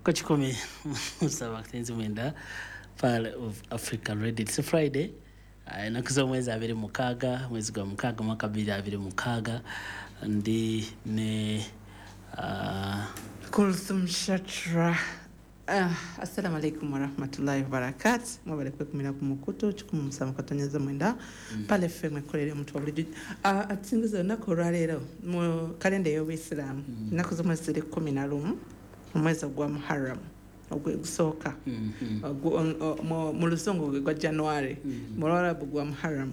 Ku 179 Pearl of Africa Radio. It's Friday, ennaku z'omwezi 26, mwezi gwa 6, mwaka 2026. Ndi ne Kulthum Shatra. Assalamu alaikum warahmatullahi wabarakatu. Mwebale kwekumira ku mukutu 179. Pale FM ekolera omuntu wa bulijjo. Atusingiza olunaku olwaleero mu kalenda ey'Obuyisiraamu, ennaku z'omwezi ziri 11, omwezi ogwa Muharram ogusooka, mu Luzungu gwe gwa January, mu Lwarabu gwa Muharram,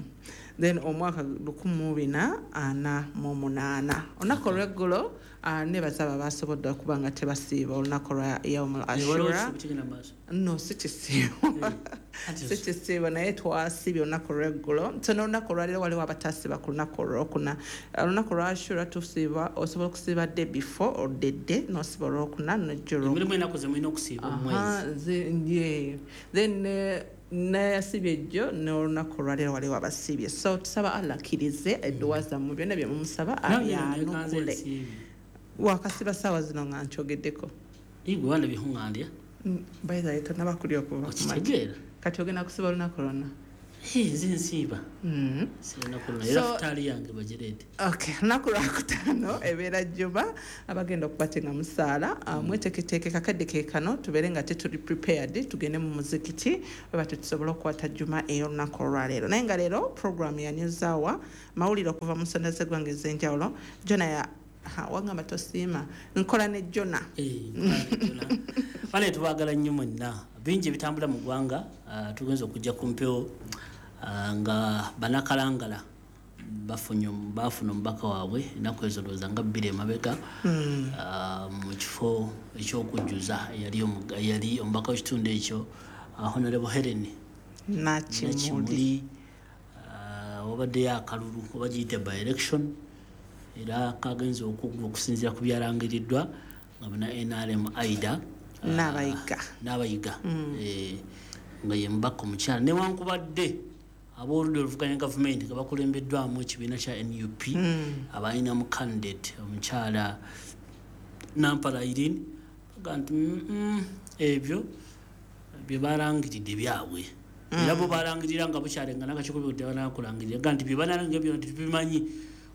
then omwaka 1448. Olunaku olweggulo, nebaza abo abasobodde okuba nga tebasiiba olunaku lwa Yaumul Ashura. No, si kisiibo, si kisiibo, naye twasiibye olunaku olweggulo. So n'olunaku olwaleero waliwo abatasiiba ku lunaku olwokuna. Olunaku lwa Ashura tusiiba, osobola okusiiba day before or the day, n'osiiba olwokuna nojja. Mulimu ennaku ze mulina okusiiba mu mwezi. Then nayasibye ejjo, n'olunaku olwaleero waliwo abasiibye. So tusaba Allah akkirize edduwa zammwe, byonna bye mumusaba abyanukule. Wakasiba saawa zino nga nkyogeddeko. Igwe wanda bihuŋŋandya. By the way, tonaba kulya okuva ku makya. Okitegeera. Kati ogenda kusiba olunaku lwonna? Nze nsiiba lunaku lwonna, era futaali yange bagireete. Okay, lunaku lwakutaano ebeera Juma. Abagenda okuba te nga musaala, mweteeketeeke kakadde ke kano, tubeere nga tetuli prepared, tugende mu muzikiti weba tetusobola okukwata Juma ey'olunaku olwaleero. Naye nga leero program ya News Hour, mawulire okuva mu nsonda z'eggwanga ez'enjawulo. Jona ya ha, wangamba tosiima nkola ne Jona. Bane, tubaagala nnyo mwenna. Bingi ebitambula mu ggwanga. Tugenza okujja ku mpewo, nga banakalangala bafunye, bafuna omubaka waabwe ennaku ezo, ndowooza nga 2 emabega, mu kifo ekyokujjuza eyali omubaka w'ekitundu ekyo, Honorable Helen Nakimuli. Nakimuli. Wabaddeyo akalulu oba giyite by election, era kagenza okuggwa, okusinziira ku byalangiriddwa, nga muna NRM Aida N'Abayiga. N'Abayiga, nga ye mubaka omukyala, newankubadde abooludda oluvuganya gavumenti nga bakulembeddwamu ekibiina kya NUP abalinamu candidate omukyala Nampala Irene, baga nti, ebyo bye balangiridde byabwe." Era bo balangirira nga bukyalenga nakakiiko banakulangirira ga nti bye banalangira byonna tetubimanyi,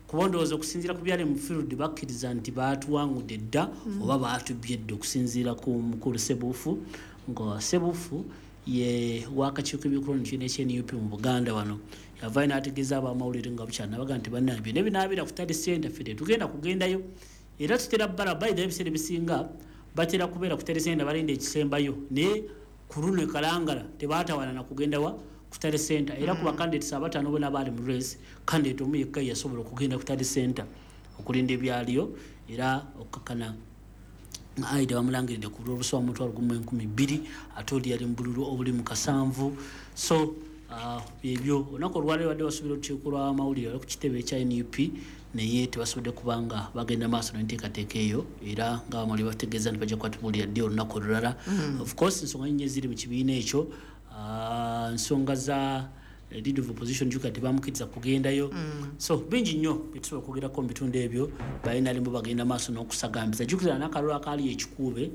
kuba ndowooza okusinziira ku byali mu field, bakkiriza nti baatuwangudde dda oba baatubbye dda, okusinziira ku mukulu Sebuufu, nga Sebuufu ye wakakiiko ebyokulonda ekibiina ekya NUP mu Buganda. Wano yavayo n'ategeeza abamawulire nga bukyala, nabaga nti, "Bannange, byonna binaabeera ku tally center, ffe tetugenda kugendayo." Era tutera bala bayida, ebiseera ebisinga batera kubeera ku tally center, balinda ekisembayo, naye ku luno e Kalangala tebaatawaana na kugenda wa ku tally center. Era ku bacandidates abataano bona baali mu race, candidate omu yekka yasobola okugenda ku tally center okulinda ebyaliyo, era okukakana nga Aida bamulangiridde ku bululu obusoba 10,200, ate oli yali mu bululu obuli mu 70. So ebyo olunaku olwaleero badde basuubira olukiiko lw'amawulire wali ku kitebe ekya NUP, naye tebasobodde kubanga bagenda maaso n'enteekateeka eyo, era nga bamawulire bategeeza nti bajja kuba ddi olunaku olulala. Of course, ensonga nyingi eziri mu kibiina ekyo, nsonga za leader of opposition, juga tebamukkiriza kugendayo. So bingi nnyo byetusobola okwogerako mu bitundu ebyo. Balina bagenda maaso n'okusagambiza. Jjukira n'akalulu akaali ekikuube,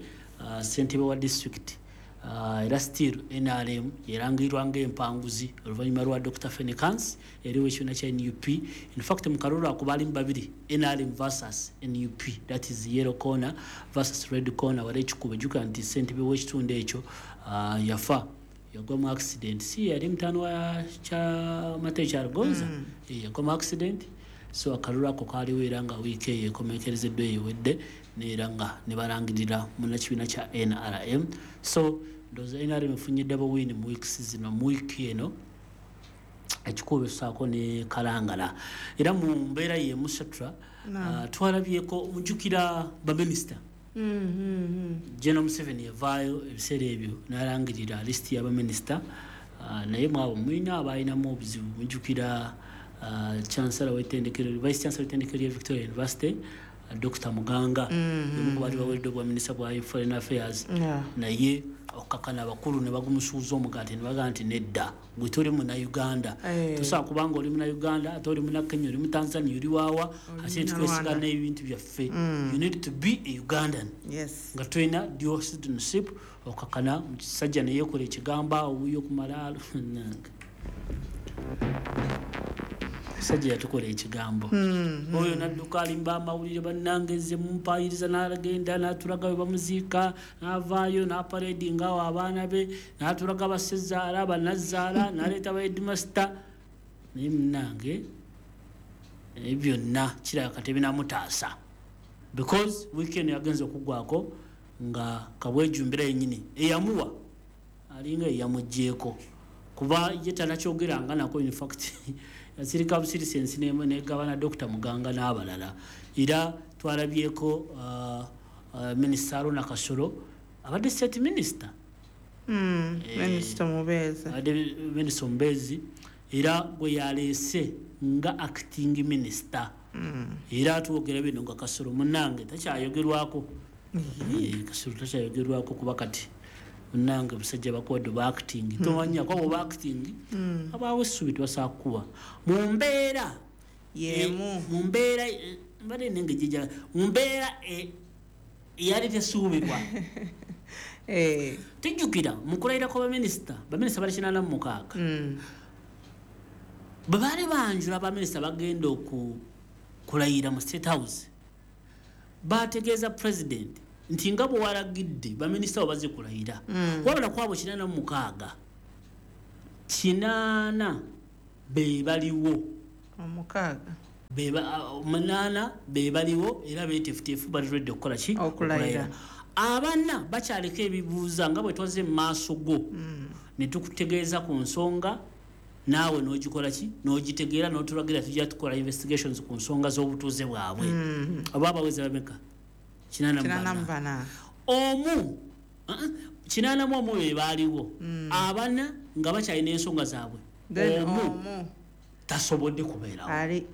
ssentebe wa district, era still NRM yerangirirwa ng'empanguzi oluvannyuma lwa Dr Fenicans eriwo ekibiina kya NUP. In fact, mu kalulu ako baalimu babiri, NRM versus NUP, that is yellow corner versus red corner. Wali ekikuube, jjukira nti ssentebe w'ekitundu ekyo yafa, yagwa mu accident. Si yali mutaano wa Kyamate Kyaligonza? Yagwa mu accident. So akalulu ako kaaliwo, era nga wiiki eyo ekomekerezeddwa ewedde, neera nga ne balangirira munnakibiina kya NRM. So ndowooza NRM efunye double win mu weeks zino, mu wiiki eno, ekikuba esaako ne Kalangala. Era mu mbeera yemu, Satra, twalabyeko, mujjukira baminisita, General Museveni yavaayo ebiseera ebyo n'alangirira lisiti y'abaminisita, naye mwabo mulina abalinamu obuzibu. Mujjukira chancellor w'ettendekero, vice chancellor w'ettendekero lya Victoria University, Dr. Muganga omu ku baali baweereddwa obwa minisita bwa Foreign Affairs, naye okukakana abakulu ne bagumusuuza omugaati ne bagamba nti nedda, gwe toli Munnayuganda, tosobola kubanga oli Munnayuganda ate oli Munnakenya, oli Mutanzania, oli waawa, ate twesiga n'ebintu byaffe. You need to be a Ugandan nga tolina dual citizenship. Okakana musajja neyeekola ekigambo awo wuyo okumala nange musajja yatukola ekigambo oyo nadduka alimba amawulire, bannange nze mumpayiriza, n'agenda n'atulaga we bamuziika, n'avaayo n'aparedinga awo abaana be, n'atulaga basezaala bannazaala, n'aleeta ba headmaster. Naye munnange ebyo byonna kirabika tebinamutaasa, because weekend yagenza okuggwako nga kabwejumbira yennyini eyamuwa alinga eyamuggyeeko, kuba ye tanakyogeranga nako. In fact yasirika busirisi ensi negabana Dr. Muganga n'abalala. Era twalabyeko Minisita Aruna Kasolo, abadde state minister. Minisita omubeezi. Abadde minisita omubeezi, era gwe yaleese nga acting minister. Era twogera bino nga Kasolo munange takyayogerwako. Kasolo takyayogerwako kuba kati munange musajja bakuwadde oba acting, tomanya kuba oba acting abaawo essubi tebasobola kukuba mu mbeera yemu. Mu mbeera mbadde nenge jijja mu mbeera eyali tesuubirwa. Tujjukira mu kulayira kwa baminisita, baminisita bali 86. Bwe baali banjula baminisita bagenda kulayira mu State House, bategeeza President nti nga bwe walagidde baminisita bo bazze kulayira, wabula kwabo 86, 80 be baliwo. Omukaaga. 8 be baliwo era beeteefuteefu, bali ready okukola ki? Okulayira. Abana bakyaliko ebibuuza nga bwe twazze mu maaso go ne tukutegeeza ku nsonga, naawe n'ogikola ki, n'ogitegeera, n'otulagira tujja tukola investigations ku nsonga z'obutuuze bwabwe. Oba abawezi bameka? 84. 84. Omu, 81 be baaliwo, abana nga bakyalina ensonga zaabwe. Then omu omu tasobodde kubeerawo. Ali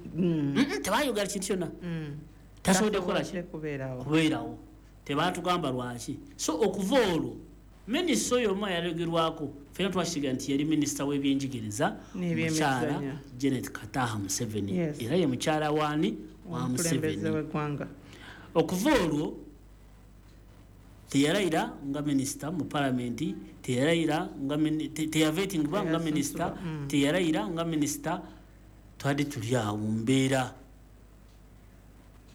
Tebayogera kintu kyonna. Tasobodde kukola ki? Tasobodde kubeerawo. Kubeerawo. Tebatugamba lwaki. So okuva olwo minisita oyo omu ayalogerwako ffenna twakisiga nti yali minisita w'ebyenjigiriza, N'ebyemizannyo. mukyala Janet Kataha Museveni. Yes. Era ye mukyala waani? Wa Omukulembeze Museveni. w'eggwanga. Okuva olwo teyalayira nga minisita mu palamenti, teyalayira nga teyavetingibwa nga minisita, teyalayira nga minisita. Twali tuli awo mu mbeera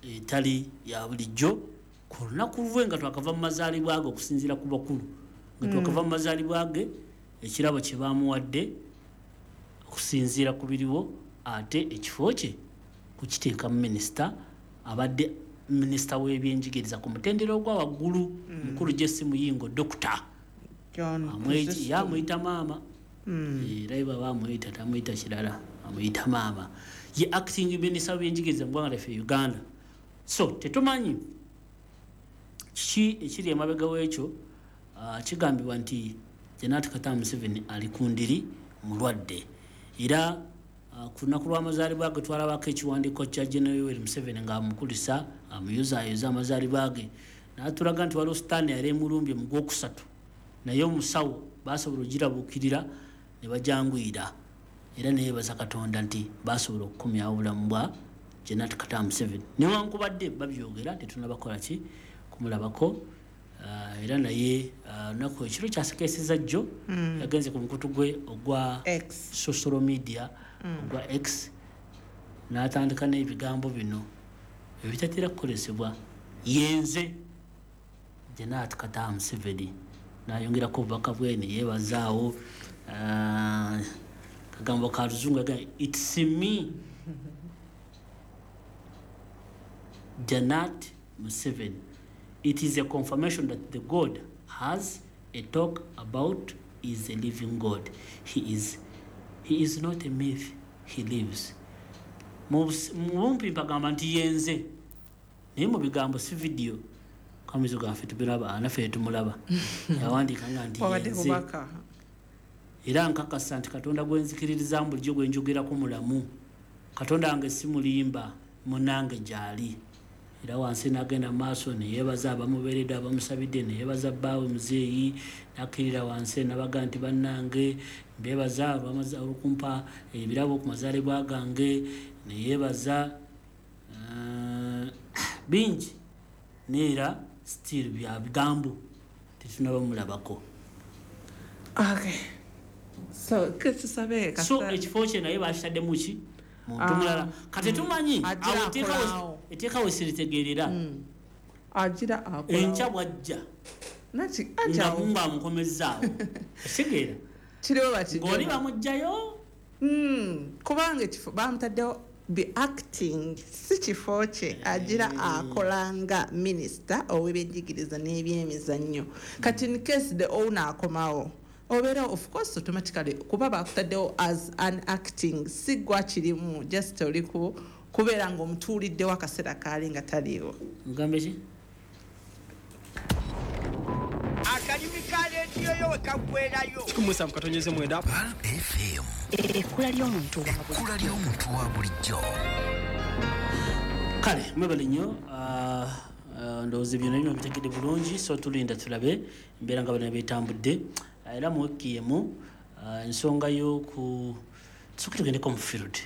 etali ya bulijjo ku lunaku lwe nga twakava mu mazaalibwa ge, okusinziira ku bakulu nga twakava mu mazaalibwa ge, ekirabo kye baamuwadde okusinziira ku biriwo, ate ekifo kye kukiteeka mu minisita abadde minisita w'ebyenjigiriza ku mutendera ogwa waggulu, mukulu Jesse Muyingo, Dokita John Chrysostom. Amuyita maama. Era ye baba amuyita tamuyita kirala, amuyita maama. Ye acting minisita w'ebyenjigiriza mu ggwanga lyaffe Uganda. So tetumanyi kiki ekiri emabega w'ekyo. Kigambibwa nti Janet Kataha Museveni ali ku ndiri mulwadde, era ku lunaku lw'amazaalibwa ge twalabako ekiwandiiko kya General Yoweri Museveni ng'amukulisa, amuyozaayoza amazaalibwa ge, n'atulaga nti waliwo sitaani yali emulumbye mu gwokusatu, naye omusawo basobola ogirabuukirira ne bajanguyira, era neyeebaza Katonda nti basobola okukomyawo obulamu bwa Janet Kataha Museveni, newankubadde babyogera tetunnabakola ki kumulabako. Era naye lunaku ekiro kyasekeeseza jjo yagenze ku mukutu gwe ogwa X. social media ogwa X, n'atandika n'ebigambo bino ebitatera kukozesebwa: "Yenze Janet Kataha Museveni." N'ayongerako obubaka bwe ne yeebazaawo kagambo ka luzungu agamba, "It's me, Janet Museveni. It is a confirmation that the God has a talk about is a living God. He is not a myth, he lives." Mu bumpi mpagamba nti yenze, naye mu bigambo si vidiyo kamizo gaffe tubiraba, naffe tumulaba, yawandiika nga nti Wabadde yenze. bubaka. Era nkakasa nti Katonda gwe nzikiririzaamu bulijjo, gwe njogerako, mulamu. Katonda wange si mulimba, munange gy'ali. Era wansi n'agenda mu maaso neyeebaza abamubeeredde, abamusabidde, neyeebaza bbaawe muzeeyi, n'akkirira wansi nabaga nti bannange mbeebaza olw'okumpa ebirabo ku mazaalibwa gange, neyeebaza bingi, neera still bya bigambo tetunaba mulabako. Okay. So tusabe so ekifo kye naye bakitaddemu ki muntu mulala. Kati tumanyi awo etteeka we siritegeerera. Agira akola enkya bwajja nga Mungu amukomezzaawo okitegeera kiriwo bakijja ng'oli bamuggyayo. Kubanga ekifo bamutaddewo be acting si kifo kye, agira akolanga minisita ow'ebyenjigiriza n'ebyemizannyo. Kati in case the owner akomawo obeera of course automatically kuba bakutaddewo as an acting, si gwa kirimu, just oli kubeera ng'omutuuliddewo akaseera kaali nga taliiwo. Ngambe ki? Akalimi ka leediyo yo we kaggweerayo. 17.9 FM. Ekkula ly'omuntu wa bulijjo. Kale mwebale nnyo, ndowooza byonna bino bitegedde bulungi, so tulinda tulabe embeera nga bano beetambudde. Era mu wiiki emu ensonga y'oku tusooke tugendeko mu field.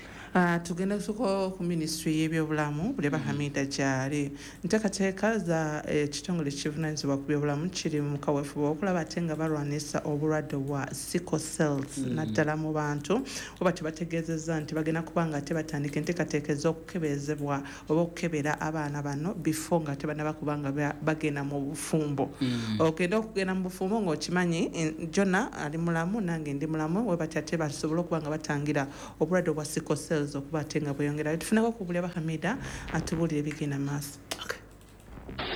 Tugenda kusooka ku minisitule y'ebyobulamu Buleba Hamida gyali. Nteekateeka za ekitongole ekivunaanyizibwa ku byobulamu kiri mu kaweefube okulaba ate nga balwanisa obulwadde bwa sickle cells naddala mu bantu, oba tebategeezezza nti bagenda kuba nga tebatandika enteekateeka ez'okukebezebwa oba okukebera abaana bano before nga tebannaba kuba nga bagenda mu bufumbo. Ogenda okugenda mu bufumbo ng'okimanyi Jona ali mulamu nange ndi mulamu, we batya ate basobole okuba nga batangira obulwadde bwa sickle cells okuba ate nga bweyongera. Tufuneko ku Buleba Hamida atubuulire ebigenda maaso.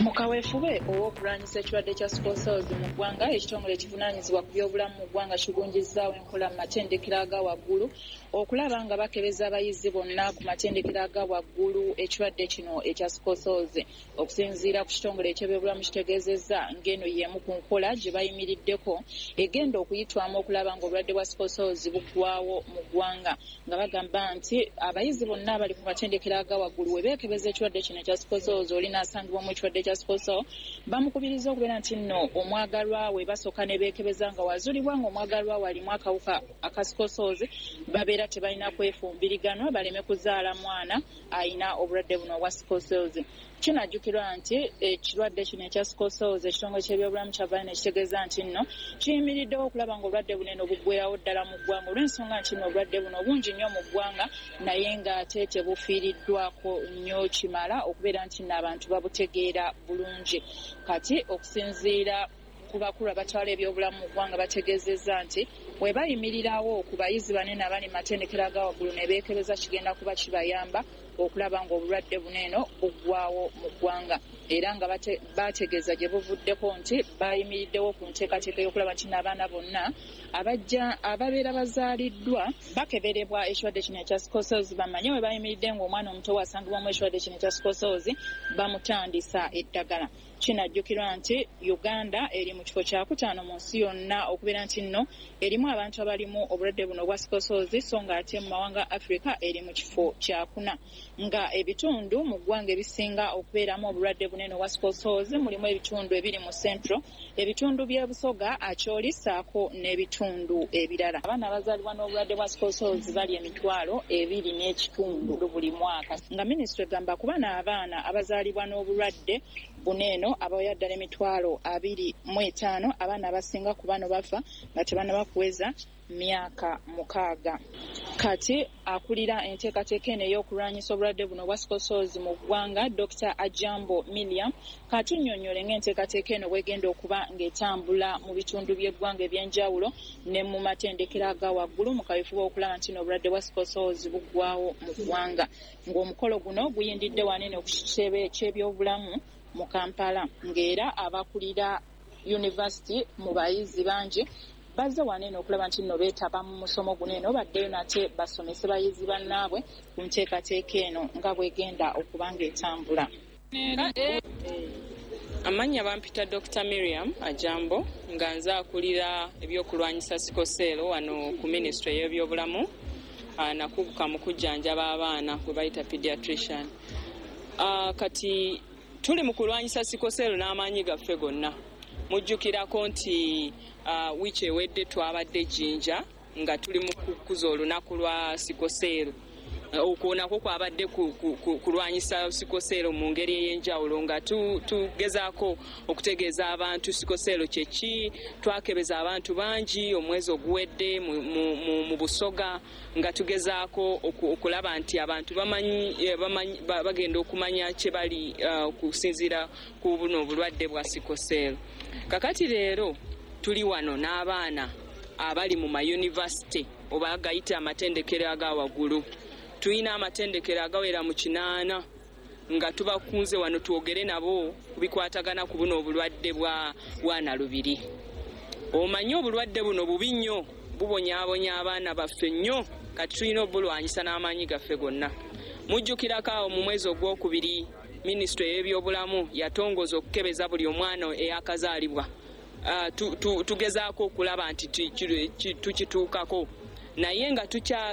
Mu kaweefube ow'okulwanyisa ekirwadde kya sickle cells mu ggwanga, ekitongole ekivunaanyizibwa ku byobulamu mu ggwanga kigunjizzaawo enkola mu matendekero aga waggulu okulaba nga bakebeza abayizi bonna ku matendekero aga waggulu ekirwadde kino ekya sickle cells. Okusinziira ku kitongole eky'ebyobulamu kitegeezezza ng'eno y'emu ku nkola gye bayimiriddeko egenda okuyitwamu okulaba ng'obulwadde bwa sickle cells buggwawo mu ggwanga, nga bagamba nti abayizi bonna abali ku matendekero aga waggulu we beekebeza ekirwadde kino ekya sickle cells oli n'asangibwamu ekirwadde kya sickle cell, bamukubiriza okubeera nti nno omwagalwa we basooka ne beekebeza nga wazuulibwa ng'omwagalwa we alimu akawuka aka sickle cells, babeera tebalina kwefumbiriganwa baleme kuzaala mwana ayina obulwadde buno obwa sickle cells. Kinajjukirwa nti ekirwadde kino ekya sickle cells ekitongole ky'ebyobulamu kyavaayo ne kitegeeza nti nno kiyimiriddewo okulaba ng'obulwadde buno eno buggweerawo ddala mu ggwanga, olw'ensonga nti nno obulwadde buno bungi nnyo mu ggwanga naye ng'ate tebufiiriddwako nnyo kimala okubeera nti nno abantu babutegeera bulungi. Kati okusinziira ku bakulu abatwala ebyobulamu mu ggwanga bategeezezza nti we bayimirirawo ku bayizi banene abali mu matendekero aga waggulu ne beekebeza kigenda kuba kibayamba okulaba ng'obulwadde buno eno buggwawo mu ggwanga. Era nga bategeeza gye buvuddeko nti bayimiriddewo ku nteekateeka y'okulaba nti n'abaana bonna abajja ababeera bazaaliddwa bakeberebwa ekirwadde kino ekya sickle cells, bamanye we bayimiridde ng'omwana omuto wasangibwamu ekirwadde kino ekya sickle cells bamutandisa eddagala. Kinajjukirwa nti Uganda eri mu kifo kyakutaano mu nsi yonna okubeera nti nno erimu abantu abalimu obulwadde buno obwa sickle cells, so ng'ate mu mawanga Africa eri mu kifo kyakuna. Nga ebitundu mu ggwanga ebisinga okubeeramu obulwadde bunene obwa sickle cells mulimu ebitundu ebiri mu Central, ebitundu by'e Busoga, Acholi ssaako n'ebitundu ebirala. Abaana abazaalibwa n'obulwadde bwa sickle cells bali 2.5 buli mwaka, nga minisitule egamba kuba n'abaana abazaalibwa n'obulwadde buno eno abawera ddala 25,000, abaana abasinga ku bano bafa nga tebannaba kuweza myaka 6. Kati akulira enteekateeka eno ey'okulwanyisa obulwadde buno obwa sickle cells mu ggwanga, Dr. Ajambo Miriam, katunnyonnyole ng'enteekateeka eno bw'egenda okuba ng'etambula mu bitundu by'eggwanga eby'enjawulo ne mu matendekero aga waggulu mu kaweefube okulaba nti n'obulwadde bwa sickle cells buggwawo mu ggwanga. Ng'omukolo guno guyindidde wanene ku kitebe ky'ebyobulamu mu Kampala, ng'era abakulira yunivasiti mu bayizi bangi bazze wanene okulaba nti nno beetaba mu musomo guno eno baddeyo nate basomese bayizi bannaabwe ku nteekateeka eno nga bw'egenda okuba ng'etambula. Amannya bampita Dr. Miriam Ajambo, nga nze akulira ebyokulwanyisa sickle cell wano ku minisitule y'ebyobulamu, nakuguka mu kujjanjaba abaana gwe bayita pediatrician. Kati tuli mu kulwanyisa sikoseero n'amaanyi gaffe gonna. Mujjukirako nti wiiki ewedde twabadde Jinja nga tuli mu kukuza olunaku lwa sikoseero. Okwo nakwo kwabadde kulwanyisa sikoseero mu ngeri ey'enjawulo, nga tugezaako okutegeeza abantu sikoseero kye ki. Twakebeza abantu bangi omwezi oguwedde mu Busoga, nga tugezaako okulaba nti abantu bamanyi bagenda okumanya kye bali okusinziira ku buno obulwadde bwa sikoseero. Kakati leero tuli wano n'abaana abali mu mayunivasite oba gayite amatendekero aga waggulu. Tulina amatendekero agawera mu 8 nga tubakunze wano twogere nabo ku bikwatagana ku buno obulwadde bwa nalubiri. Omanyi obulwadde buno bubi nnyo, bubonyaabonya abaana baffe nnyo, kati tulina obulwanyisa n'amaanyi gaffe gonna. Mujjukirako awo mu mwezi ogwokubiri minisitule y'ebyobulamu yatongoza okukebeza buli omwana eyakazaalibwa. Tugezaako okulaba nti tukituukako, naye nga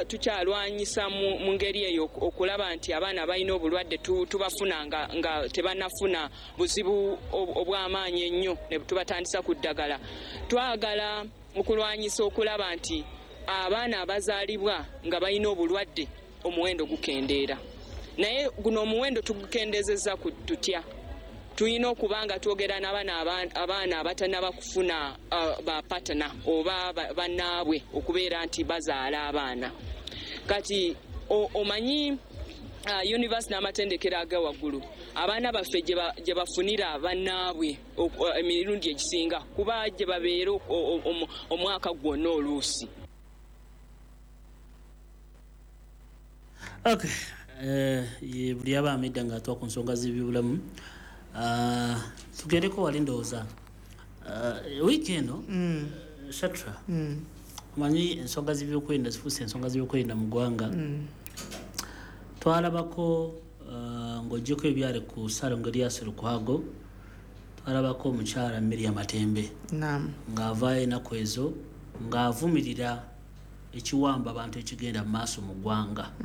tukyalwanyisa mu ngeri eyo okulaba nti abaana balina obulwadde tubafuna nga tebannafuna buzibu obw'amaanyi ennyo ne tubatandisa ku ddagala. Twagala okulwanyisa okulaba nti abaana abazaalibwa nga balina obulwadde omuwendo gukendeera, naye guno omuwendo tugukendezeza tutya? Tulina okuba nga twogera n'abaana abatannaba kufuna bapatana oba bannaabwe okubeera nti bazaala abaana. Kati omanyi yunivasite n'amatendekero aga waggulu abaana baffe gye bafunira bannaabwe emirundi egisinga kuba gye babeera omwaka gwonna oluusi. Okay, buli aba amedda ng'atuwa ku nsonga z'ebyobulamu. Tugendeko wali ndowooza wiiki eno Shatra, omanyi ensonga z'ebyokwerinda zifuuse ensonga z'ebyokwerinda mu ggwanga. Twalabako ng'oggyeko ebyali ku Ssalongo Erias Lukwago, twalabako omukyala Miriam Matembe ng'avaayo ennaku ezo ng'avumirira ekiwamba abantu ekigenda mu maaso mu ggwanga.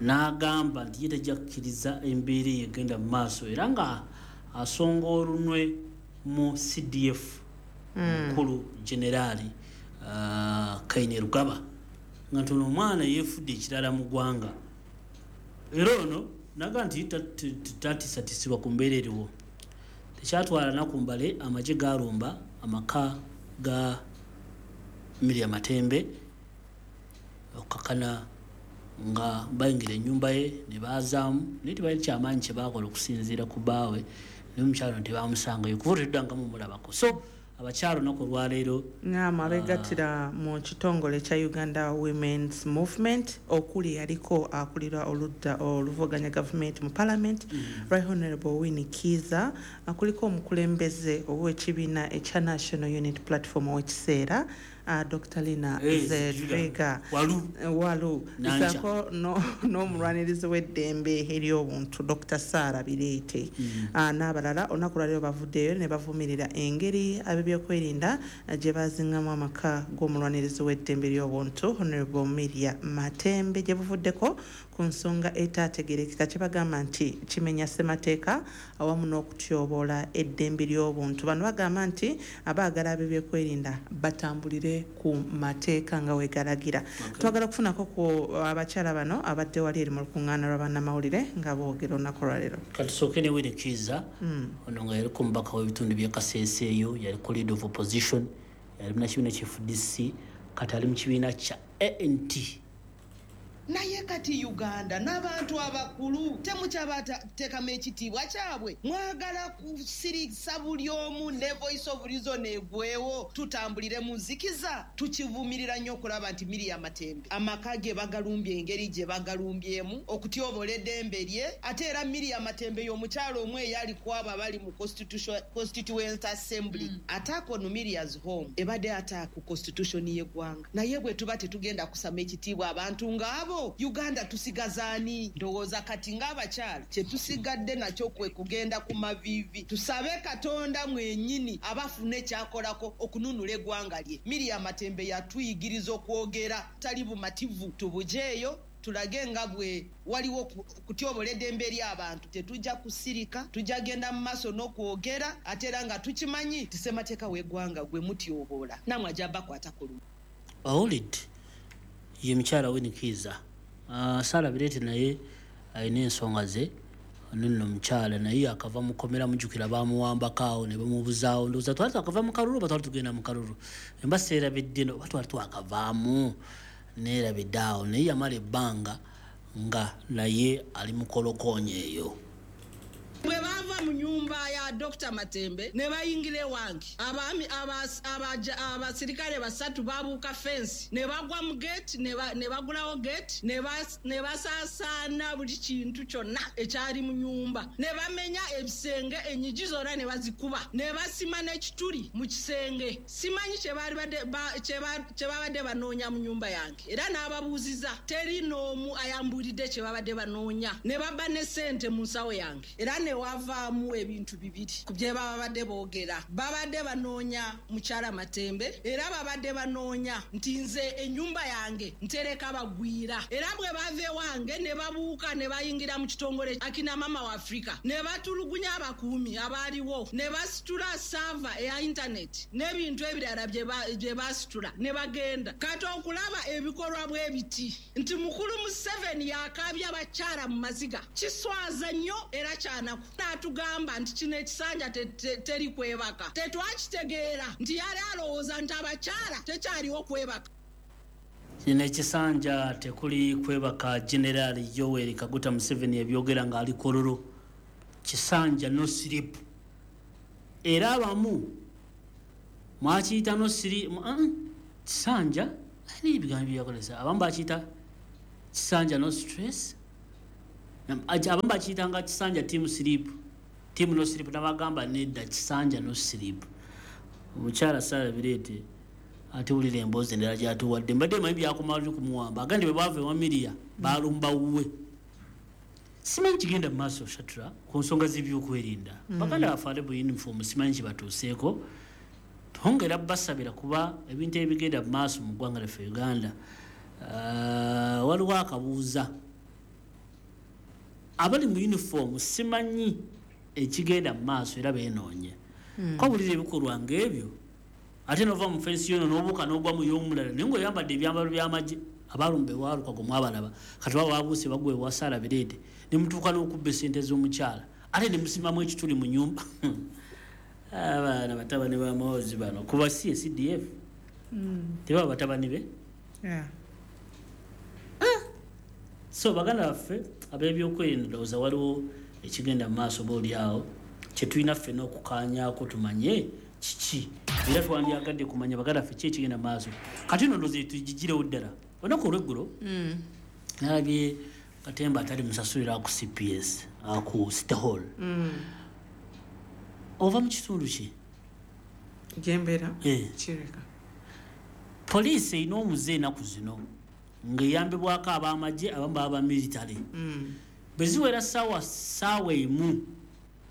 N'agamba nti ye tajja kukkiriza embeera eyo egenda mu maaso, era nga asonga olunwe mu CDF mukulu generaali Kainerugaba, nga nti ono omwana yeefudde ekirala mu ggwanga. Era ono naga nti tatisatisibwa ku mbeera eriwo. Tekyatwala nnaku mbale, amagye gaalumba amaka ga Miriam Matembe okukakana nga bayingira ennyumba ye ne baazaamu, naye tebalina kyamaanyi kye baakola okusinziira ku bbaawe, naye omukyala ono tebamusangayo kuva olwo mumulabako. So abakyala olunaku olwaleero abeegattira mu kitongole kya Uganda Women's Movement okuli yaliko akulira oludda oluvuganya gavumenti mu parliament, Right Honorable Winnie Kiiza, kuliko omukulembeze ow'ekibiina ekya National Unity Platform ow'ekiseera Dr. Lina Zedriga Walu, sako n'omulwanirizi w'eddembe ery'obuntu Dr. Sarah Bireete n'abalala. Olunaku lwaleero bavuddeyo ne bavumirira engeri ab'ebyokwerinda gye bazingamu amaka g'omulwanirizi w'eddembe ery'obuntu Honorable Miriam Matembe gye buvuddeko ku nsonga etaategeerekeka kye bagamba nti kimenya ssemateeka awamu n'okutyoboola eddembe ly'obuntu. Bano bagamba nti abaagala ab'ebyokwerinda batambulire ku mateeka nga wegalagira. Twagala okufunako ku abakyala bano abadde wali eri mu lukuŋŋaana lwa bannamawulire nga boogera olunaku lwaleero. Katusooke ne Winnie Kiiza, ono nga yaliko omubaka w'ebitundu by'e Kasese eyo, yaliko leader of opposition, yali munnakibiina kya FDC, kati ali mu kibiina kya ANT. Naye kati Uganda n'abantu abakulu temukyabateekamu ekitiibwa kyabwe, mwagala kusirisa buli omu ne voice of reason egwewo, tutambulire mu nzikiza. Tukivumirira nnyo okulaba nti Miriam Matembe amaka ge bagalumbye engeri gye bagalumbyemu okutyobola eddembe lye. Ate era Miriam Matembe y'omukyala omu eyali ku abo abali mu Constituent Assembly. Attack on Miriam's home ebadde attack ku constitution y'eggwanga, naye bwe tuba tetugenda kusama ekitiibwa abantu ng'abo, Uganda tusigazaani? Ndowooza kati ng'abakyala kye tusigadde nakyo kwe kugenda ku maviivi, tusabe Katonda mwennyini abafune kyakolako okununula eggwanga lye. Miriam Matembe yatuyigiriza okwogera tali bumativu, tubujeeyo. Tulage nga bwe waliwo kutyobola eddembe ly'abantu. Tetujja kusirika, tujja genda mu maaso n'okwogera, ate era nga tukimanyi nti ssemateeka w'eggwanga gwe mutyobola, nammwe ajja bakwatako lumu. Owulidde ye mukyala Winnie Kiiza. Sarah Bireete naye alina ensonga ze. Nno mukyala naye akava mu kkomera, mujjukira baamuwambako awo ne bamubuzaawo. Ndowooza twali twakava mu kalulu oba twali tugenda mu kalulu, emba seerabidde, oba twali twakavaamu neerabidde awo. Naye yamala ebbanga nga naye ali mu kolokoonyo eyo. Bwe baava mu nyumba ya Dr. Matembe ne bayingira ewange, abaami abasirikale basatu babuuka fensi ne bagwa mu gate, ne bagulawo gate, ne basaasaana buli kintu kyonna ekyali mu nyumba, ne bamenya ebisenge, enyigi zonna ne bazikuba, ne basima n'ekituli mu kisenge. Simanyi kye babadde banoonya mu nyumba yange, era n'ababuuziza teri n'omu ayambuulidde kye babadde banoonya. Ne babba ne ssente mu nsawo yange, era ne wavaamu ebintu bibiri ku bye babadde boogera. Babadde banoonya mukyala Matembe, era babadde banoonya nti nze ennyumba yange ntereka bagwira. Era bwe bava ewange ne babuuka ne bayingira mu kitongole Akina Mama wa Africa, ne batulugunya abakuumi abaaliwo, ne basitula saava eya internet n'ebintu ebirala bye basitula ne bagenda. Kati okulaba ebikolwa bwe biti nti mukulu Museveni yakaabya abakyala mu maziga, kiswaza nnyo era kyanaku. N'atugamba nti kino ekisanja teri kwebaka. Tetwakitegeera nti yali alowooza nti abakyala tekyaliwo kwebaka. Kino ekisanja tekuli kwebaka. General Yoweri Kaguta Museveni ebyogera ng'ali Kololo, kisanja no sleep. Era abamu mwakiyita no sleep kisanja, ani ebigambo byeyakozesa, abamu bakiyita kisanja no stress, abamu bakiyitanga kisanja team sleep, team no sleep, nabagamba nedda, kisanja no sleep. Omukyala Sarah Bireete atuwulira emboozi endala gyatuwadde. Mbadde manyi byakumala kumuwamba, agandi bwe baava ewa Miria balumba wuwe. Simanyi kigenda mu maaso Shatra ku nsonga z'ebyokwerinda. Baganda baffe ate bu uniform simanyi kibatuuseeko, twongera basabira kuba ebintu ebigenda mu maaso mu ggwanga lyaffe Uganda. Waliwo akabuuza abali mu uniform, simanyi ekigenda mu maaso era beenoonye. Kobulira ebikolwa ng'ebyo, ate nova mu fensi yono n'obuuka n'ogwa mu y'omulala, naye ng'oyambadde ebyambalo by'amagye. Abalumba ewa Lukwago mwabalaba, kati baba babuuse bagwa ewa Sarah Bireete, ne mutuuka n'okubba essente z'omukyala, ate ne musimamu ekituli mu nnyumba. Abaana batabani ba Muhoozi bano, kuba si CDF, tebaba batabani be. So baganda baffe ab'ebyokwerinda, ndowooza waliwo ekigenda mu maaso oba oli awo kye tulina ffenna okukaanyaako tumanye kiki, era twandyagadde kumanya baganda baffe ki ekigenda mu maaso. Kati nno ndowooza tugigirewo ddala. Olunaku olweggulo nalabye katemba atali musasulira ku CPS ku City Hall. Ova mu kitundu ki? Gyembeera Kireka. Poliisi erina omuze ennaku zino ng'eyambibwako ab'amagye, abamu baba military. Bwe ziwera ssaawa 1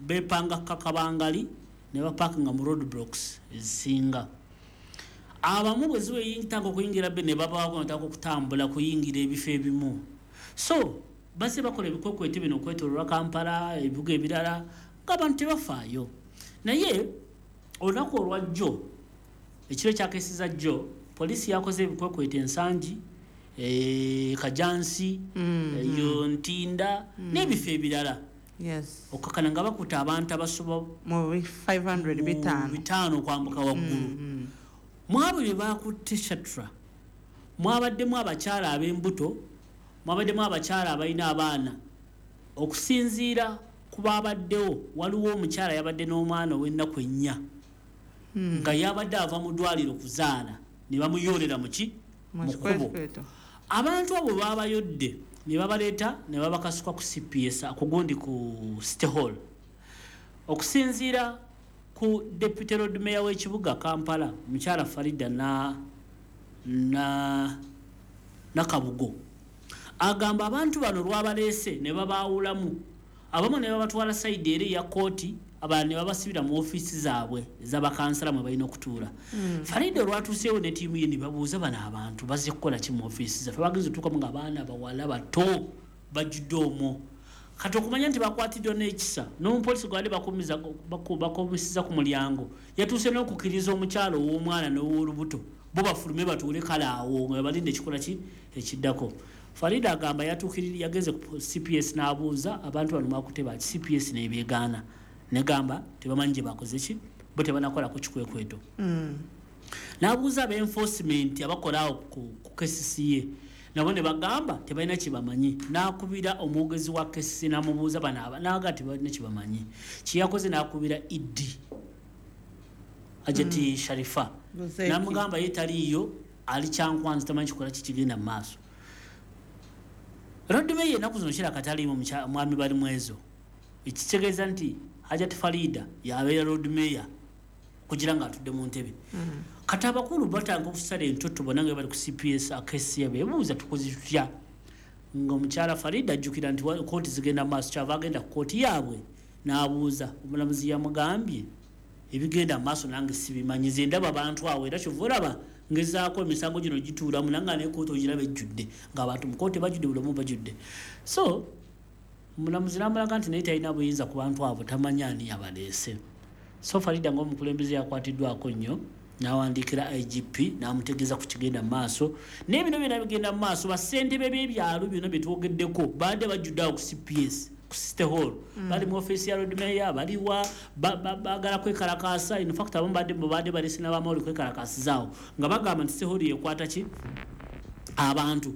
beepanga kakabangali ne bapaakinga mu road blocks ezisinga. Abamu bwe ziweyintanga okuyingira be ne babaako batandika okutambula kuyingira ebifo ebimu. So bazze bakola ebikwekweto bino okwetooloola Kampala, ebibuga ebirala, ng'abantu tebafaayo. Naye olunaku olwajjo, ekiro ekyakeeseza jjo, poliisi yakoze ebikwekweto Ensangi, Kajansi, eyo Ntinda n'ebifo ebirala. Okukakana nga bakuta abantu abasoba mu 500 bitaano 500 okwambuka waggulu. Mwabo bye bakutte Shatra, mwabaddemu abakyala ab'embuto, mwabaddemu abakyala abalina abaana. Okusinziira ku baabaddewo, waliwo omukyala yabadde n'omwana ow'ennaku 4 nga yabadde ava mu ddwaliro kuzaala, ne bamuyoolera mu ki? Mu kkubo. Abantu abo baabayodde ne babaleeta ne babakasuka ku CPS akugundi ku City Hall. Okusinziira ku Deputy Lord Mayor w'ekibuga Kampala, mukyala Farida Nakabugo, agamba abantu bano lwabaleese ne babaawulamu, abamu ne babatwala sayidi eri eya kooti, Abalala ne babasibira mu ofiisi zaabwe ez'abakansala mwe balina okutuula. Farida olwatuuseewo ne ttiimu ye ne babuuza bano abantu bazze kukola ki mu ofiisi zaffe. Bagenze otuukamu ng'abaana bawala bato bajjudde omwo. Kati okumanya nti bakwatiddwa n'ekisa, n'omupoliisi gwabadde bakomisiza ku mulyango yatuuse n'okukkiriza omukyalo ow'omwana n'ow'olubuto bo bafulume batuule kale awo nga balinda ekikola ki ekiddako. Farida agamba yagenze ku CPS n'abuuza abantu bano mwakutte baki, CPS n'ebeegaana negamba tebamanyi gye bakoze ki, bo tebanakolako kikwekweto. N'abuuza aba enforcement abakola awo ku KCCA, nabo ne bagamba tebalina kye bamanyi. N'akubira omwogezi wa KCCA n'amubuuza bano aba, n'agamba tebalina kye bamanyi. Kye yakoze n'akubira ED Hajati Sharifa, n'amugamba ye taliiyo, ali Kyankwanzi, tamanyi kikola ki kigenda mu maaso. Lord Mayor ennaku zino kiraka taliimu mwami Balimwezo, ekitegeeza nti Hajati Farida yabeera Lord Mayor kugira nga atudde mu ntebe. Kati abakulu batanga okusala entotto bonna nga bali ku CPS akesiya, beebuuza tukoze tutya, nga omukyala Farida ajjukira nti kooti zigenda maaso, kyava agenda ku kooti yaabwe n'abuuza. Omulamuzi yamugambye ebigenda maaso nange sibimanyi, nze ndaba abantu awo, era kyova olaba ngezaako emisango gino gituulamu nange ne kooti ogiraba ejjudde, ng'abantu mu kooti bajjudde, buli omu bajjudde. So omulamuzi n'amulaga nti naye talina buyinza ku bantu abo, tamanyi ani yabaleese. So Farida ng'omukulembeze yakwatiddwako nnyo, n'awandiikira IGP n'amutegeeza ku kigenda mu maaso. Naye bino byonna bigenda mu maaso, bassentebe b'ebyalo byonna bye twogeddeko baadde bajjudde awo ku CPS, ku City Hall, bali mu ofiisi ya Lord Mayor, baliwa baagala kwekalakaasa. In fact abamu badde baleese n'abamawulire kwekalakaasizaawo nga bagamba nti City Hall yekwata ki abantu,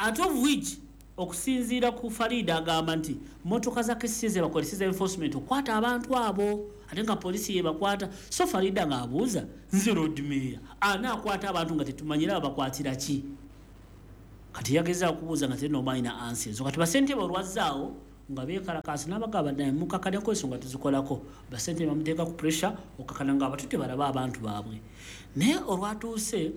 out of which okusinziira ku Farida agamba nti motoka za KCCA ze bakozesa enforcement okwata abantu abo, ate nga poliisi yebakwata. So Farida ng'abuuza, nze Lord Mayor anaakwata abantu nga tetumanyira babakwatira ki? Kati yagezaako okubuuza nga terina omwalina ansi ezo. Kati basentebe olwazzaawo nga beekalakaasa n'abagamba naye mukakaneko ensonga tuzikolako, basentebe bamuteeka ku pressure okakana nga abatutte balabe abantu baabwe. Naye olwatuuse